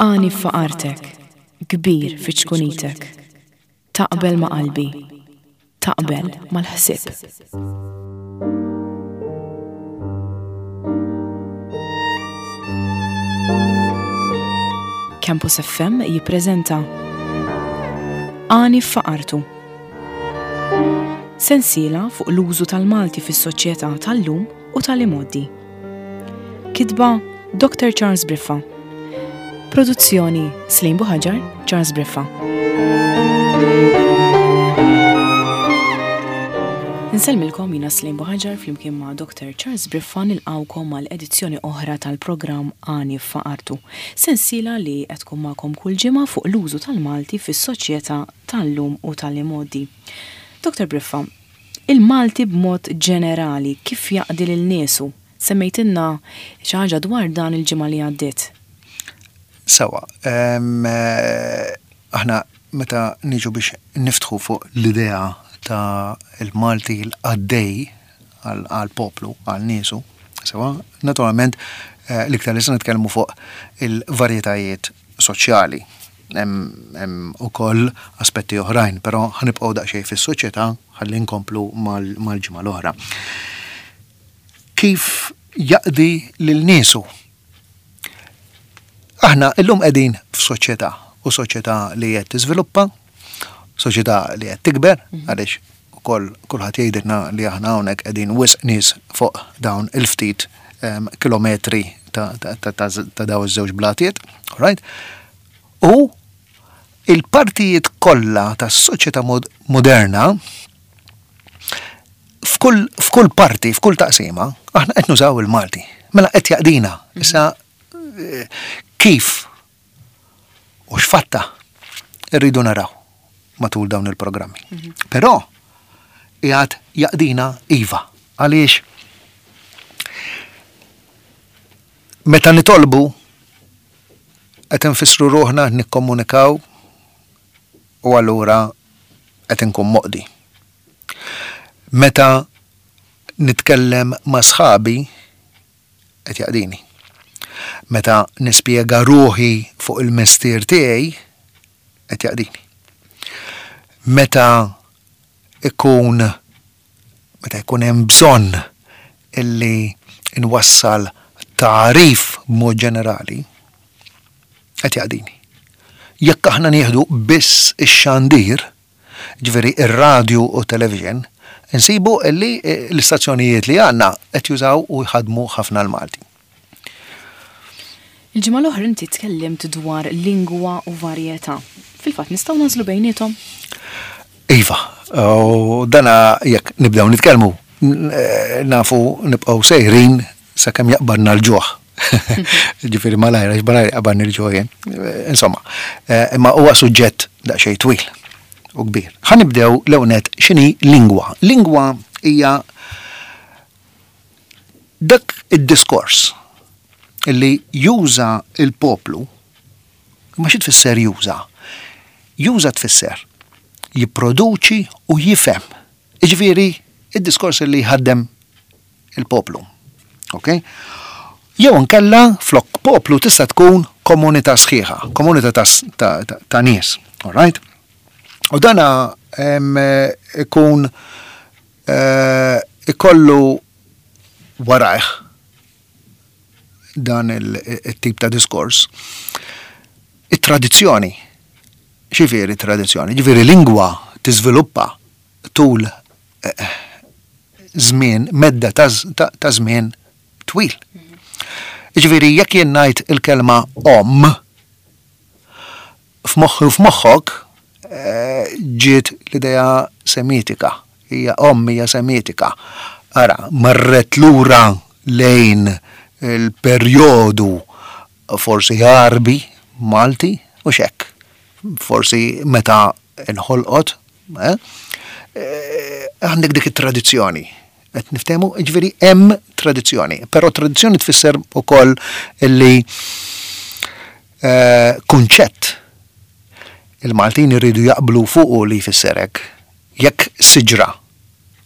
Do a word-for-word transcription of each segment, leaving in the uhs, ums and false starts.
Għani f'faqartek, kbir fi ċkunitek. Taqbel ma' qalbi, taqbel mal-ħsieb. Campus F M jippreżenta Għani f'faqartu. Sensiela fuq l-użu tal-Malti fis-soċjetà tal-lum u tal-imgħoddi. Kitba Doctor Charles Briffa. Produzzjoni Slim Buhaġar, Charles Briffa. Insellmilkom jiena Slim Buhaġar flimkien ma' Doctor Charles Briffa nilqawkom għal edizzjoni oħra tal-programm Għani f'Faqartu. Sensiela li qed tkun magħkom kull ġimgħa fuq l-użu tal-Malti fis-soċjetà tal-lum u tal-imgħoddi. Doctor Briffa, il-Malti b'mod ġenerali kif jaqdi lil niesu? Semmejtilna xi ħaġa dwar dan il-ġimgħa li għaddiet. Sewa, em, eh, aħna meta niġu biex niftħu fuq l-idea ta' il-Malti l-qaddej għal-poplu, għal niesu, sewa, naturalment, eh, l-iktar li se nitkellmu fuq il-varjetajiet soċjali. Hemm, hemm ukoll aspetti oħrajn, però ħanibqgħu daqsxejn fis-soċjetà ħalli nkomplu mal-, mal-ġimgħa l-oħra. Kif jaqdi lil niesu? Aħna illum qegħdin f'soċjetà, u soċjetà li qed tiżviluppa, soċjetà li qed tikber, Mhm. għaliex ukoll kulħadd jgħidilna li aħna hawnhekk qegħdin wisq nies fuq dawn il-ftit, ehm, kilometri ta', ta', ta', ta', ta' dawn iż-żewġ blatiet, all right? U il-partijiet kollha tas-soċjetà mod-, moderna f'kull, f'kull parti, f'kull taqsima, aħna qed nużaw il-Malti. Mela qed jaqdina. Mhm. Issa, eh, kif u x'fatta rridu naraw matul dawn il-programmi. Mhm. Però qiegħed jaqdina iva. Għaliex meta nitolbu qed infissru ruħna nikkomunikaw u allura qed inkun moqdi. Meta nitkellem ma' sħabi qed jaqdini. Meta nispjega ruħi fuq il-mestier tiegħi qed jaqdini. Meta ikun, meta jkun hemm bżonn illi nwassal tagħrif b'mod ġenerali qed jaqdini. Jekk aħna nieħdu biss ix-xandir, ġifieri ir-radju u television, insibu illi l-istazzjonijiet li għandna qed jużaw u jħadmu ħafna l-Malti. Il-ġimgħa l-oħra inti tkellimt dwar lingwa u varjetà. Fil-fatt nistgħu nażlu bejniethom? Iva, u dana jekk nibdew nitkellmu, n-, nafu nibqgħu sejrin sakemm jaqbadna l-ġuħ. Ġifieri malajr, għax malajr jaqbadni l-ġuħ jien. Insomma, eh, imma huwa suġġett daqsxejn twil u kbir. Ħa nibdew l-ewwel nett x'inhi lingwa. Lingwa hija dak id-diskors illi juża il-poplu. Ma xi tfisser juża? Juża tfisser jipproduċi u jifhem. Jiġifieri id-diskors li jħaddem il-poplu. Ok? Jew inkella flok poplu tista' tkun komunità sħiħa, komunità ta' s-, ta', ta', ta' nies. All right? U dana, em, ikun, eh, ikollu warajh dan il-, il-tip ta' diskors. It-tradizzjoni. Xifieri tradizzjoni? Ġifieri lingwa tiżviluppa tul, eh, żmien, medda ta' z-, ta', ta' żmien twil. Ġifieri jekk jien ngħid il-kelma om, f'moħħi u f'moħħok, eh, ġiet l-idea semitika. Hija om hija semitika. Ara, marret lura lejn il-perjodu forsi Għarbi, Malti, u xek. Forsi meta nħolqot, eh? Eh, għandek dik it-tradizzjoni. Qed niftehmu, ġifieri hemm tradizzjoni, però tradizzjoni tfisser ukoll illi, eh, kunċett il-Maltin iridu jaqblu fuqu li jfisser hekk. Jekk siġra,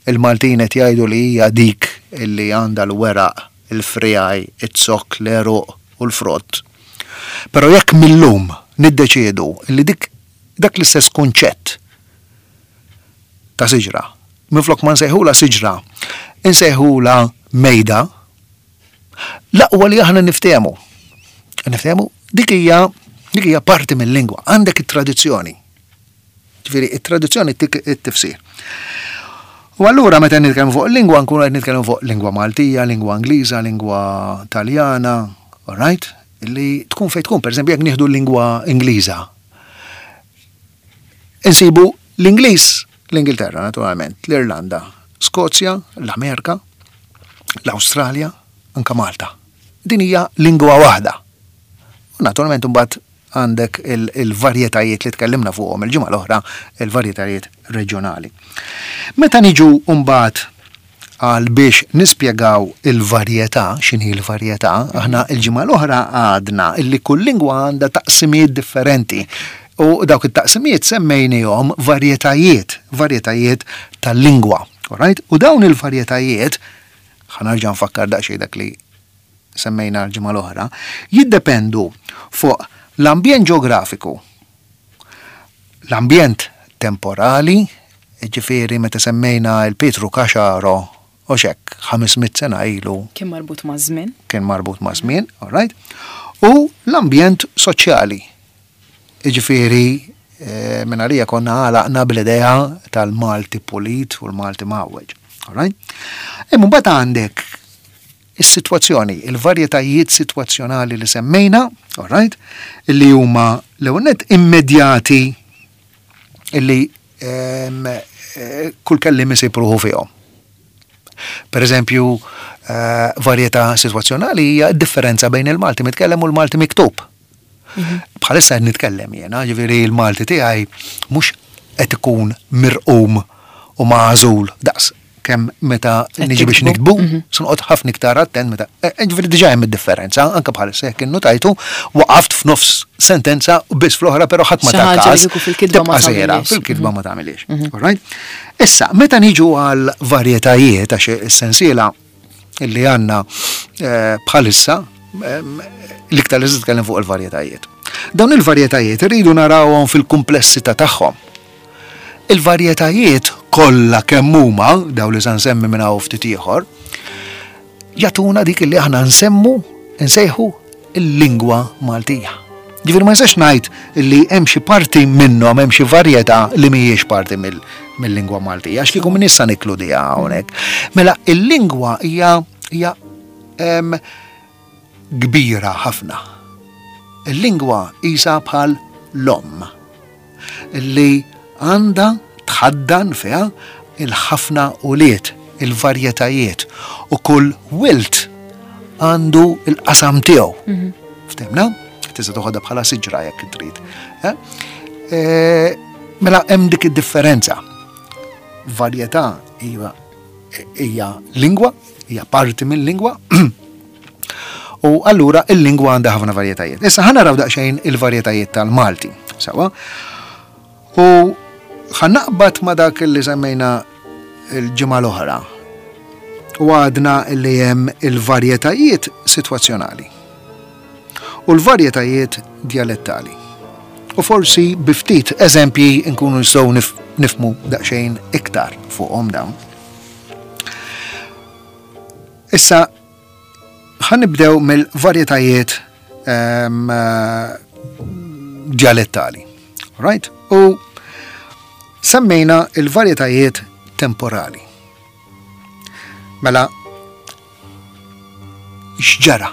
il-Maltin qed jgħidu li hija dik illi għandha l-weraq, il-frijaj, iz-zokk, l-għeruq u l-frott. Però jekk millum niddeċiedu li dik dak l-istess kunċett ta' siġra, minflok ma nsejħula siġra, insejħula mejda, l-aqwa li aħna niftehmu. Niftehmu, dik hija dik hija parti mill-lingwa, għandek it-tradizzjoni. Ġifieri, it-tradizzjoni tik it-tifsir. U allura meta nitkellmu fuq lingwa nkunu qed nitkellmu fuq lingwa Maltija, lingwa Ingliża, lingwa Taljana, all right? Li tkun fejn tkun, pereżempju jekk nieħdu l-lingwa Ingliża. Insibu l-Ingliż, l-Ingilterra naturalment, l-Irlanda, Skozja, l-Amerika, l-Awstralja, anka Malta. Din hija lingwa waħda. U naturalment imbagħad għandek il-varjetajiet li tkellimna fuqhom il-ġimgħa l-oħra, il-varjetajiet reġjonali. Meta niġu mbagħad għal biex nispjegaw il-varjetà, x'inhi l-varjetà, aħna il-ġimgħa l-oħra għadna illi kull lingwa għandha taqsimijiet differenti. U dawk it-taqsimijiet semmejnihom varjetajiet, varjetajiet tal-lingwa. Alright? U dawn il-varjetajiet, ħa nerġa' nfakkar daqsxejn dak li semmejna l-ġimgħa l-oħra, jiddependu fuq l-ambjent ġeografiku, l-ambjent temporali, ġifieri meta semmejna il-Pietru Caxaro, u xek, ħames mitt sena ilu. Kien marbut ma' żmien. Kien marbut ma' żmien, all right? U l-ambjent soċjali. Ġifieri, eh, minn għalija konna għalaqna bl-idea tal-Malti pulit u l-Malti mgħawweġ. All right? Imma mbagħad għandek is-sitwazzjoni, il-varjetajiet sitwazzjonali li semmejna, all right, li huma l-ewwel nett immedjati illi, ehm, eh, kull kellim isib ruħu fihom. Per eżempju, eh, varjetà sitwazzjonali hija d-differenza bejn il-Malti mitkellem u l-Malti miktub. Mhm. Bħalissa qed nitkellem jiena, ġifieri l-Malti tiegħi mhux qed ikun mirqum u magħżul daqs kemm meta Qed niġi biex tiktbu. niktbu, Mhm. se noqgħod ħafna iktar attent meta. eh, eh, Ġifieri diġà hemm id-differenza, anke bħalissa jekk innutajtu, waqaft f'nofs sentenza u biss fl-oħra, però ħadd ma Xi ta' ħaġa li każ. kieku fil-kitba ma Tibqa' sejra, tagħmilhiex. fil-kitba ma tagħmilhiex. All right? Issa, meta niġu għal varjetajiet, għax is-sensiela illi għandna, eh, bħalissa, ehm, l-iktar li nitkellem fuq il-varjetajiet. Dawn il-varjetajiet irridu narawhom fil-kumplessità tagħhom. Il-varjetajiet kollha kemm huma, daw li se nsemmi minn hawn ftit ieħor, jagħtuna dik li aħna nsemmu, nsejħu il-lingwa Maltija. Ġifieri ma nistax ngħid li hemm xi parti minnhom, hemm xi varjetà li mhijiex parti mill-, mill-lingwa Maltija, għax kieku min issa nikludiha hawnhekk. Mela il-lingwa hija, hija, em, kbira ħafna. Il-lingwa isa bħal l-omm li għandha tħaddan fiha il-ħafna ulied, il-varjetajiet, u kull wilt għandu il-qasam tiegħu. Mhm. Ftemna? Tista' toħodha bħala siġra jekk trid. Eh? Eh, mela hemm dik id-differenza. Varjetà hija, hija lingwa, hija parti mill-lingwa. U allura il-lingwa għandha ħafna varjetajiet. Issa ħa naraw daqsxejn il-varjetajiet tal-Malti. Sawa? U ħa naqbad ma dak li semmejna il-ġimgħa l-oħra. U għadna li hemm il-varjetajiet sitwazzjonali u l-varjetajiet dialettali. U forsi bi ftit eżempji nkunu nistgħu nif-, nifmu daqsxejn iktar fuqhom dawn. Issa ħa nibdew mill-varjetajiet, ehm, eh, dialettali. Right? U semmejna il-varjetajiet temporali. Mela, x'ġara?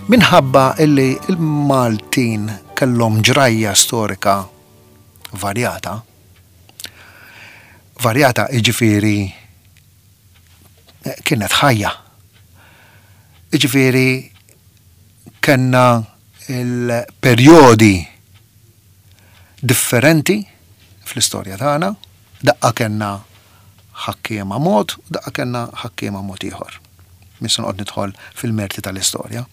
Minħabba illi il-Maltin kellhom ġrajja storika varjata, varjata iġifieri, eh, kienet ħajja. Iġifieri kellna il-perjodi differenti fl-istorja tagħna, daqqa kellna ħakkiema mod, u daqqa kellna ħakkiema mod ieħor. Mhux se noqgħod nidħol fil-merti tal-istorja.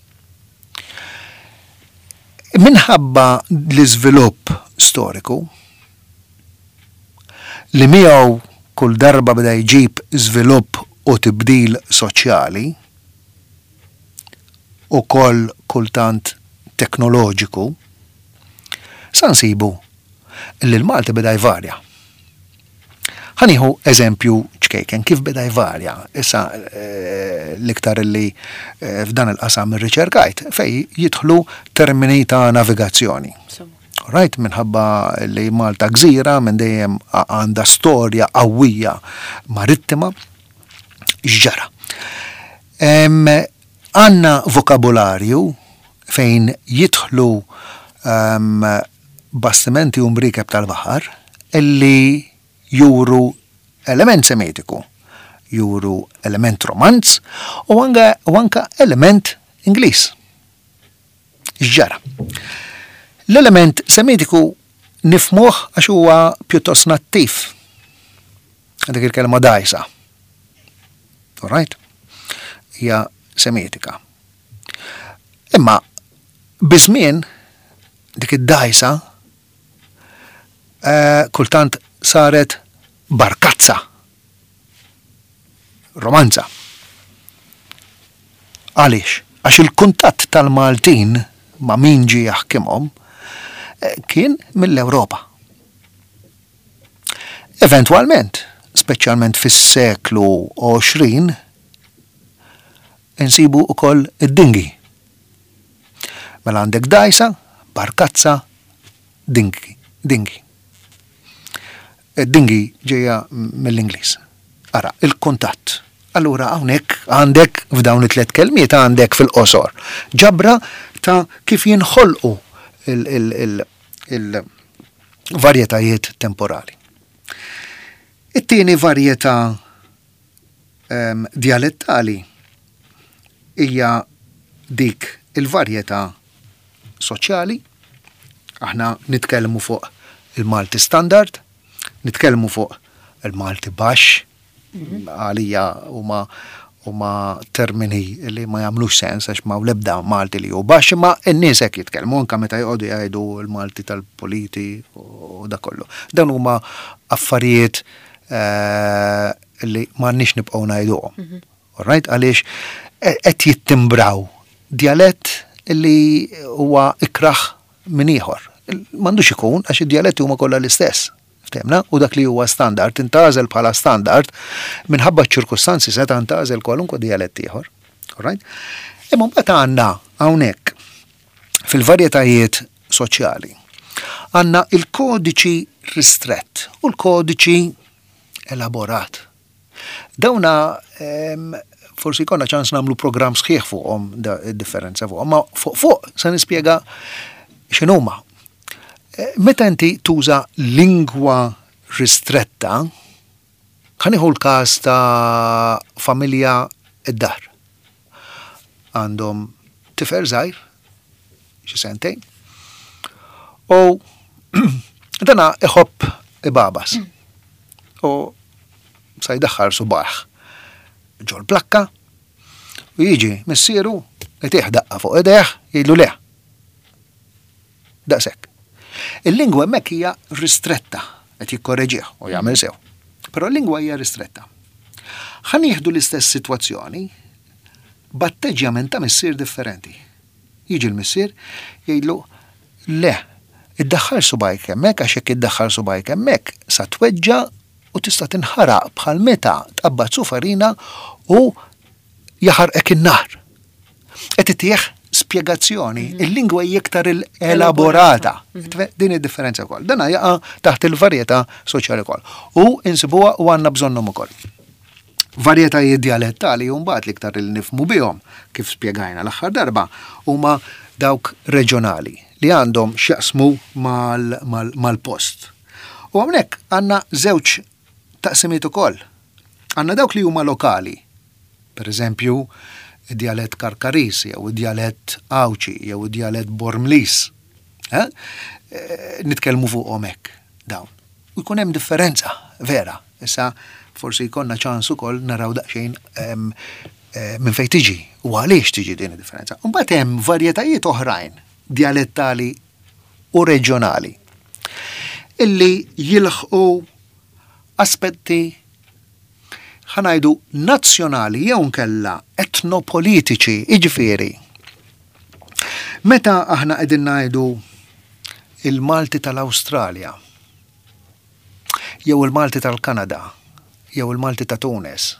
Minħabba l-iżvilupp storiku li miegħu kull darba beda jġib żvilupp u tibdil soċjali u koll kultant teknoloġiku, sa nsibu li l-Malti beda jvarja. Ħa nieħu eżempju ċkejken, kif beda jvarja, issa eh, l-iktar li eh, f'dan il-qasam irriċerkajt, fej jidħlu termini ta' navigazzjoni. Right, minħabba li Malta gżira minn dejjem għandha storja qawwija marittima, x'ġara? Għandna vokabularju fejn jidħlu um, bastimenti u mriekeb tal-baħar illi juru element semitiku, juru element romanz u anka, u anka element Ingliż. X'ġara? L-element semitiku nifhmuh għax huwa pjuttost nattiv. Dik il-kelma dajsa. All right? Hija semitika. Imma biż-żmien dik id-dajsa eh, kultant saret barkazza. Romanza. Għaliex? Għax il-kuntatt tal-Maltin ma' min ġie jaħkimhom eh, kien mill-Ewropa. Eventwalment, speċjalment fis-seklu għoxrin, insibu ukoll id-dingi. Mela għandek dajsa, barkazza, dingi. Dingi. Id-dingi ġejja mill-Ingliż. Ara, il-kuntatt. Allura hawnhekk għandek f'dawn it-tliet kelmiet għandek fil-qosor ġabra ta' kif jinħolqu il-varjetajiet temporali. It-tieni varjetà um, dialettali hija dik il-varjetà soċjali. Aħna nitkellmu fuq il-Malti standard, nitkellmu fuq il-Malti baxx, għalija huma huma termini li ma jagħmlux sens għax ma lebda Malti li hu baxx, imma n-nies hekk jitkellmu anke meta joqogħdu jgħidu l-Malti tal-politi u da kollu. Dan huma affarijiet eh, li m'għandniex nibqgħu ngħiduhom. All right? Għaliex qed jittimbraw dialett li huwa ikraħ minn ieħor. M'għandux ikun għax id-dialetti huma kollha l-istess. Ftehmna? U dak li huwa standard intgħażel bħala standard minħabba ċ-ċirkustanzi seta' ntgħażel kwalunkwe dialett ieħor. All right? Imma mbagħad għandna hawnhekk fil-varjetajiet soċjali għandna il-kodiċi ristrett u l-kodiċi elaborat. Dawna em, forsi jkollna ċans nagħmlu programm sħiħ fuqhom da id-differenza fuqhom, ma fuq fuq se nispjega x'inhuma. Eh, Meta inti tuża lingwa ristretta, ħa nieħu l-każ ta' familja id-dar. Għandhom tifel żgħir, xi sentejn, u dana iħobb ibagħbas. U sa jdaħħal subgħajh ġol plakka u jiġi missieru itih daqqa fuq idejh, jgħidlu le. Daqshekk. Il-lingwa hemmhekk hija ristretta, qed jikkorreġih u jagħmel sew. Però l-lingwa hija ristretta. Ħa nieħdu l-istess sitwazzjoni b'atteġġjament ta' missier differenti. Jiġi l-missier jgħidlu le, iddaħħal subgħajk hemmhekk għax jekk iddaħħal subgħajk hemmhekk sa tweġġa u tista' tinħaraq bħal meta tqabbad sufarina u jaħarqek in-nar. Qed itih spjegazzjoni, il-lingwa hija iktar elaborata. Din id-differenza wkoll. Dana jaqa' taħt il-varjetà soċjali wkoll. U insibuha u għandna bżonnhom ukoll. Varjetajiet dialettali mbagħad l-iktar li nifhmu bihom, kif spjegajna l-aħħar darba, huma dawk reġjonali li għandhom x'jaqsmu mal-post. U hawnhekk għandna żewġ taqsimiet ukoll. Għandna dawk li huma lokali, per eżempju, id-dialett Karkaris, jew id-dialett Għawdxi, jew id-dialett Bormlis. Eh? Eh, nitkellmu fuqhom hekk dawn. U jkun hemm differenza vera. Issa forsi jkollna ċans ukoll naraw daqsxejn em, eh, minn fejn tiġi u għaliex tiġi din id-differenza. Mbagħad hemm varjetajiet oħrajn dialettali u reġjonali illi jilħqu aspetti ħa ngħidu nazzjonali jew nkella etnopolitiċi, iġifieri. Meta aħna qegħdin ngħidu il-Malti tal-Awstralja, jew il-Malti tal-Kanada, jew il-Malti ta' Tunis,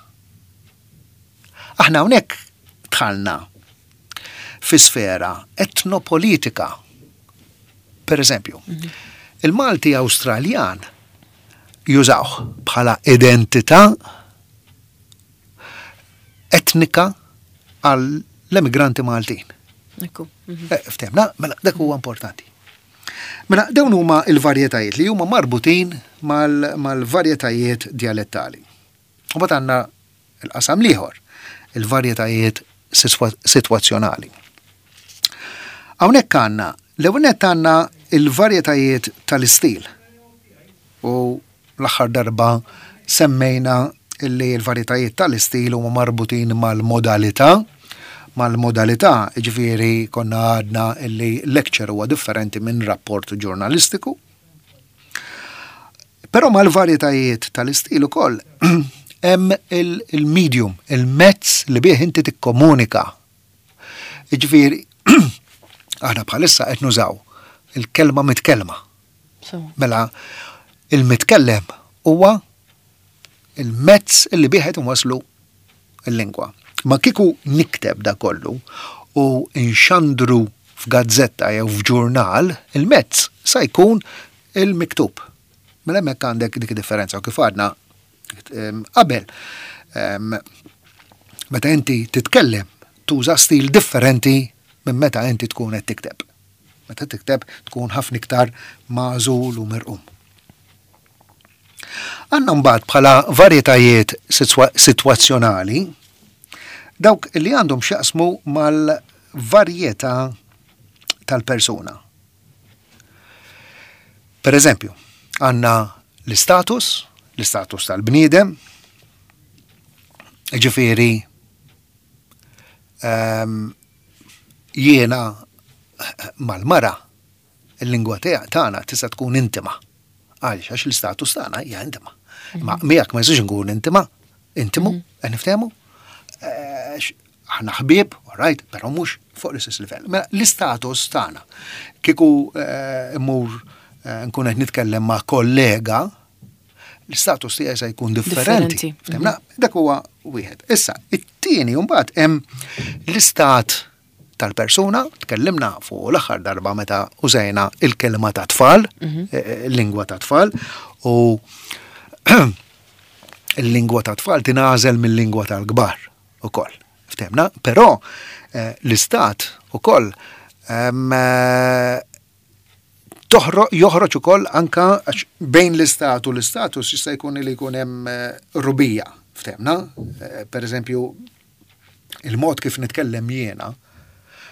aħna hawnhekk dħalna fi sfera etnopolitika. Per eżempju, il-Malti Awstraljan jużawh bħala identità etnika għall-emigranti Maltin. Ekku. Eh, Ftehmna, mela dak huwa importanti. Mela dawn huma il-varjetajiet li huma marbutin mal- mal-varjetajiet dialettali. U mbagħad għandna il-qasam l-ieħor, il-varjetajiet sitwa- sitwazzjonali. Hawnhekk għandna, l-ewwel nett għandna il-varjetajiet tal-istil. U l-aħħar darba semmejna illi l-varjetajiet tal-istil huma marbutin mal-modalità, mal-modalità, ġifieri konna għadna illi lecture huwa differenti minn rapport ġurnalistiku. Però mal-varjetajiet tal-istil ukoll hemm il-medium, il-mezz li bih inti tikkomunika. Ġifieri, aħna bħalissa qed nużaw il-kelma mitkellma. Mela, il-mitkellem huwa il-mezz illi bih qed inwasslu il-lingwa. Ma kieku nikteb da kollu u nxandru f'gazzetta jew f'ġurnal, il-mezz sa jkun il-miktub. Mela hemmhekk għandek dik differenza u kif għadna qabel. Meta inti titkellem tuża stil differenti minn meta inti tkun qed tikteb. Meta tikteb tkun ħafna iktar magħżul u mirqum. Għandna mbagħad bħala varjetajiet sitwazzjonali dawk li għandhom x'jaqsmu mal-varjetà tal-persuna. Per eżempju, għandna l-istatus, l-istatus tal-bniedem, ġifieri um, jiena mal-mara il-lingwa tagħna tista' tkun intima. Għaliex għax l-istatus tagħna hija intima. Ma miegħek ma jistax nkun intima, intimu, qed niftehmu. Aħna ħbieb, all right, però mhux fuq l-istess livell. Mela l-istatus tagħna kieku immur nkun qed nitkellem ma' kollega, l-istatus tiegħi se jkun differenti. Ftehmna, dak huwa wieħed. Issa, it-tieni mbagħad hemm l-istat tal-persuna, tkellimna fuq l-aħħar darba meta użajna il-kelma ta' tfal, il-lingwa ta' tfal, u il-lingwa ta' tfal tingħażel mill-lingwa tal-kbar ukoll. Ftehmna, però l-istat ukoll joħroġ ukoll anka bejn l-istat u l-istatus jista' jkun li jkun hemm rubija. Ftehmna, per eżempju, il-mod kif nitkellem jiena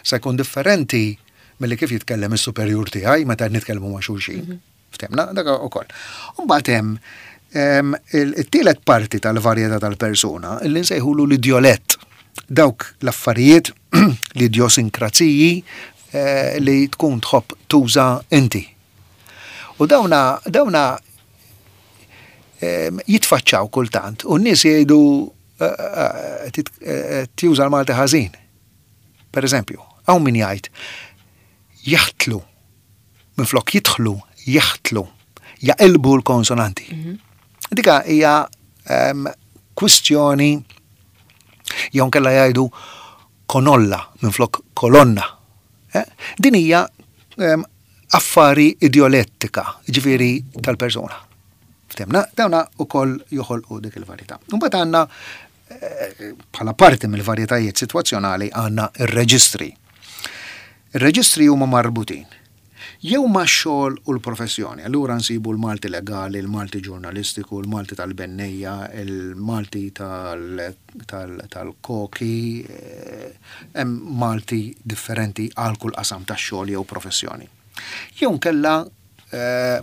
se jkun differenti milli kif jitkellem is-superjur tiegħi meta nitkellmu ma' xulxin. Ftehmna, dak ukoll. Mbagħad hemm it-tielet parti tal-varjetà tal-persuna illi nsejħulu l-idjolett. Dawk l-affarijiet, l-idjosinkrazziji li tkun tħobb tuża inti. U dawna dawna jitfaċċaw kultant u n-nies jgħidu tuża l-Malti ħażin. Per eżempju, hawn min jgħid jaħtlu minflok jidħlu, jaħtlu, jaqilbu l-konsonanti. Dika hija kwistjoni jew nkella jgħidu konolla minflok kolonna. Din hija affari idjolettika, ġifieri tal-persuna. Ftehmna, dawna ukoll joħolqu dik il-varjetà. Mbagħad għandna bħala parti mill-varjetajiet sitwazzjonali għandna ir-reġistri. Ir-reġistri huma marbutin jew ma' xogħol u l-professjoni. Allura nsibu l-Malti legali, il-Malti ġurnalistiku, il-Malti tal-bennejja, il-Malti tal-koki, hemm Malti differenti għal kull qasam tax-xogħol jew professjoni. Jew nkella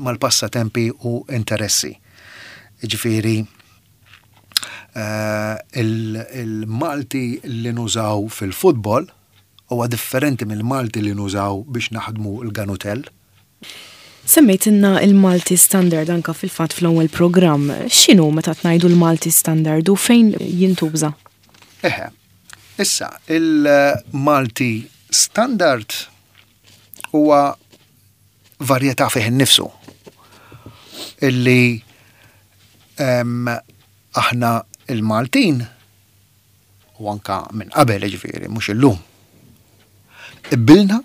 mal-passatempi u interessi. Ġifieri, il-Malti li nużaw fil-futbol huwa differenti mill-Malti li nużaw biex naħdmu l-ganutell. Semmejtilna il-Malti Standard anka fil-fatt fl-ewwel programm. X'inhu meta tgħidu l-Malti Standard u fejn jintuża? Eħe, issa il-Malti Standard huwa varjetà fih innifsu illi em, aħna il-Maltin u anka minn qabel, ġifieri, mhux illum, qbilna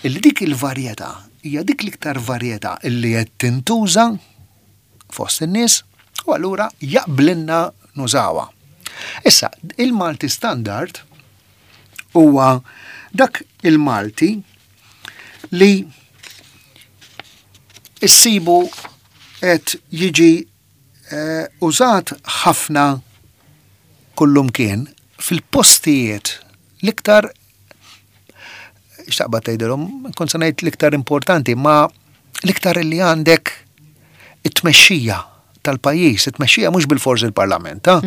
illi dik il-varjetà hija dik l-iktar varjetà illi qed tintuża fost in-nies u allura jaqblinna nużawha. Issa, il-Malti standard huwa dak il-Malti li issibu qed jiġi eh, użat ħafna kullumkien fil-postijiet l-iktar, x'taqbad tgħidilhom, kont se ngħid l-iktar importanti, ma l-iktar li għandek it-tmexxija tal-pajjiż, it-tmexxija mhux bilfors il-parlament, ha?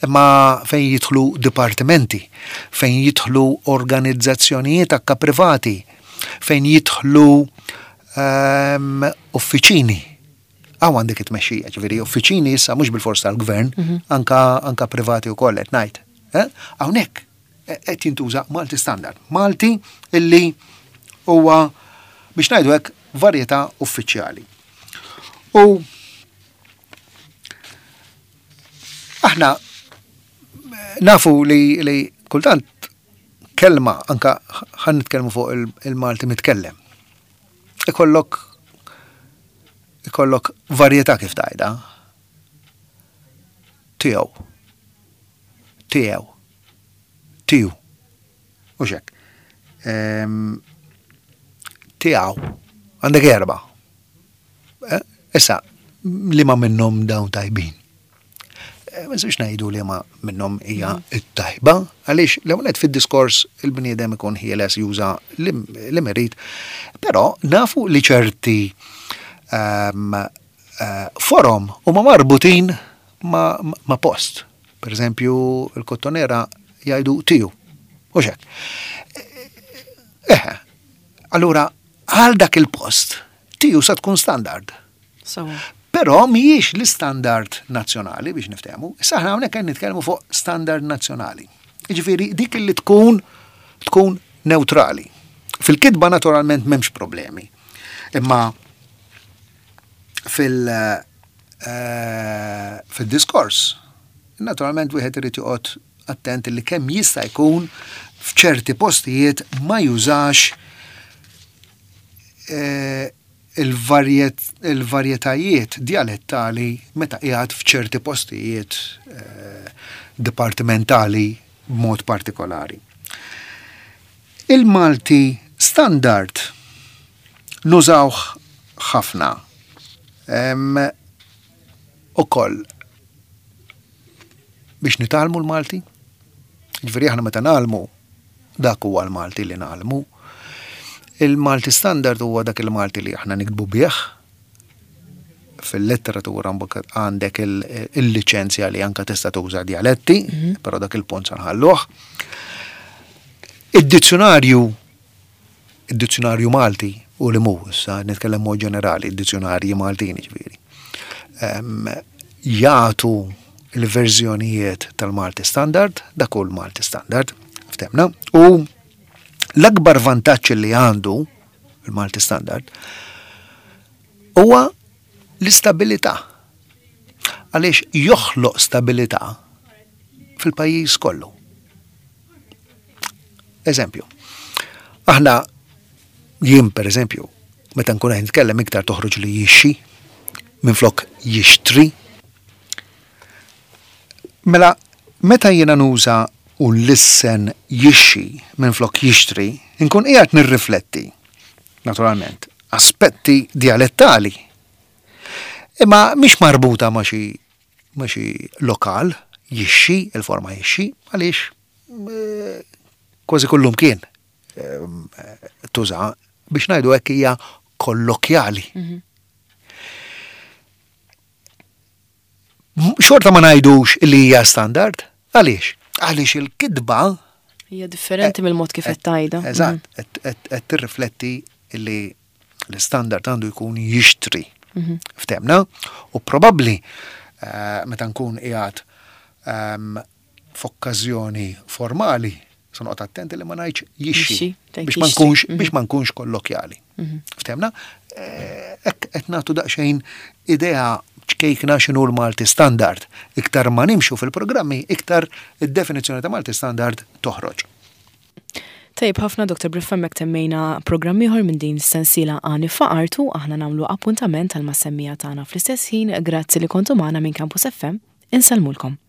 Imma fejn jidħlu dipartimenti, fejn jidħlu organizzazzjonijiet akka privati, fejn jidħlu ehm, uffiċini. Hawn għandek it-tmexxija, ġifieri uffiċini issa mhux bilfors tal-gvern, anka, anka privati wkoll qed ngħid. Eh? Hawnhekk qed jintuża Malti standard. Malti illi huwa, biex ngħidu hekk, varjetà uffiċjali. U aħna nafu li, li kultant kelma, anka ħan nitkellmu fuq il-Malti mitkellem. Ikollok ikollok varjetà kif tajda. Tiegħu. Tiegħu. Tiju. U xek. Tiegħu. Għandek erba. Eh? Issa, li ma minnhom dawn tajbin? Eh, ma nistgħux ngħidu li ma minnhom hija t-tajba, għaliex l-ewwel fid-diskors il-bniedem ikun ħieles juża li merit, però nafu li ċerti ehm, eh, forom huma marbutin ma, ma post. Per eżempju, il-Kottonera jgħidu tiju. U xek. Eħe, allura, għal dak il-post, tiju sa tkun standard. So. Però mhijiex l-istandard nazzjonali biex niftehmu. Issa aħna hawnhekk qed nitkellmu fuq standard nazzjonali. Jiġifieri dik li tkun tkun neutrali. Fil-kitba naturalment m'hemmx problemi. Imma fil- eh, fil-diskors, naturalment wieħed irid joqgħod attent li kemm jista' jkun f'ċerti postijiet ma jużax eh, il-varjetajiet dialettali meta qiegħed f'ċerti postijiet eh, dipartimentali b'mod partikolari. Il-Malti standard nużawh ħafna. Ukoll biex nitgħallmu l-Malti. Ġifieri aħna meta ngħallmu, dak huwa l-Malti li ngħallmu. Il-Malti standard huwa dak il-Malti li aħna niktbu bih. Fil-letteratura mbagħad għandek il-liċenzja li anka tista' tuża dialetti, Mhm. però dak il-punt sa nħalluh. Id-dizzjonarju, id-dizzjonarju Malti u li mu, issa nitkellem mod ġenerali, id-dizzjonarji Maltin ġifieri. Em, jagħtu il-verżjonijiet tal-Malti standard, dak hu l-Malti standard, ftemna, u l-akbar vantaġġ li għandu il-Malti standard huwa l-istabilità. Għaliex joħloq stabilità fil-pajjiż kollu. Eżempju, aħna jien per eżempju, meta nkun qed nitkellem iktar toħroġ li jixxi minflok jixtri. Mela, meta jiena nuża u lissen jixxi minflok jixtri, nkun qiegħed nirrifletti, naturalment, aspetti dialettali. Imma mhix marbuta ma' xi ma' xi lokal, jixxi, il-forma jixxi, għaliex, eh, kważi kullum kien, eh, tuża biex ngħidu hekk hija kollokjali. Mhm. Xorta ma ngħidux li hija standard, għaliex? Għaliex il-kitba hija differenti mill-mod kif qed tgħidha. Eżatt, qed tirrifletti li l-standard għandu jkun jixtri. Mhm. Ftemna? U probabbli, eh, meta nkun qiegħed, ehm, f'okkażjoni formali Se noqgħod attenti li ma ngħidx jixxi biex ma nkunx mhm. biex ma nkunx kollokjali. Mhm. Ftehmna? Eh, hekk qed nagħtu daqsxejn idea ċkejkna x'inhu l-Malti standard. Iktar ma nimxu fil-programmi, iktar id-definizzjoni ta' Malti standard toħroġ. Tajjeb ħafna Dr. Briffa mek temmejna programm ieħor minn din sensiela Għani f'Artu, aħna nagħmlu appuntament għal mas-semmiegħa tagħna fl-istess ħin, grazzi li kontu magħna minn Campus FM, insellmulkom.